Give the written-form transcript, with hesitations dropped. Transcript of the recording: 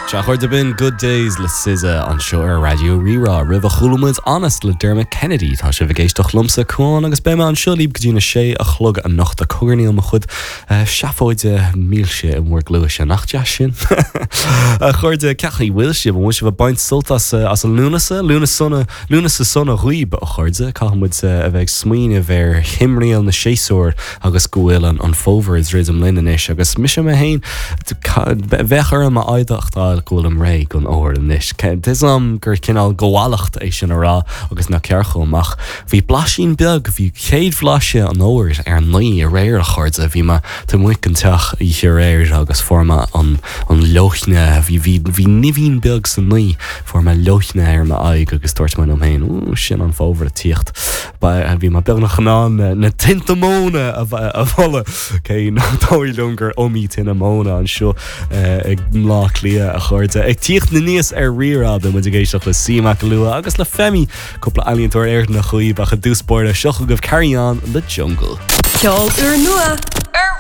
Sea, a chairde, b'in Good Days le SZA anseo ar Raidió Rí-Rá. Roimhe chuala muid Honest le Dermot Kennedy. Tá sibh ag éisteacht liomsa, Cuán, agus beidh mé anseo libh go dtí na sé a chlog anocht ag cogarnaíl mo chuid seafóide milse i bhur gcluaise. Nach deas sin? A chairde, cén chaoi a bhfuil sibh? An bhfuil sibh ag baint sult as as an Lúnasa? Lúnasa Lúnasa sona dhaoib, a chairde. Caithfidh muid a bheith ag smaoineamh ar thimthriall na séasúr agus go bhfuil an fómhar ag druidim linn anois. Agus mise mé féin, bheadh orm a admháil go bhfuilim réidh don fhómhar anois. Tá 'fhios a'm gur cineál gabhálacht é sin a rá agus nach ceart chomh maith. Bhí blaisín beag, bhí chéad bhlaiseadh an fhómhair ar an ngaoth aréir, a chairde. Bhí mé taobh amuigh den teach oíche aréir agus fuair mé an leoithne, bhí, bhí, bhí nimhín beag sa ngaoth. Fuair mé leoithne ar m'aghaidh agus dúirt mé liom féin, Ooh, sin an fómhar ag tíocht. Bhí mé beagnach in ann na tinte móna a bholadh, cé nach dóigh liom gur iomaí tine móna anseo i mBleá Cliath, a chairde. Ag tíocht aníos ar Rí-Rá, beidh muid ag éisteacht le C Mac Lua agus le Femi, cúpla ealaíontóir Éireannach dhaoibh, ach i dtús báire, seo chugaibh Carry On le Jungle. Ceol úrnua ar.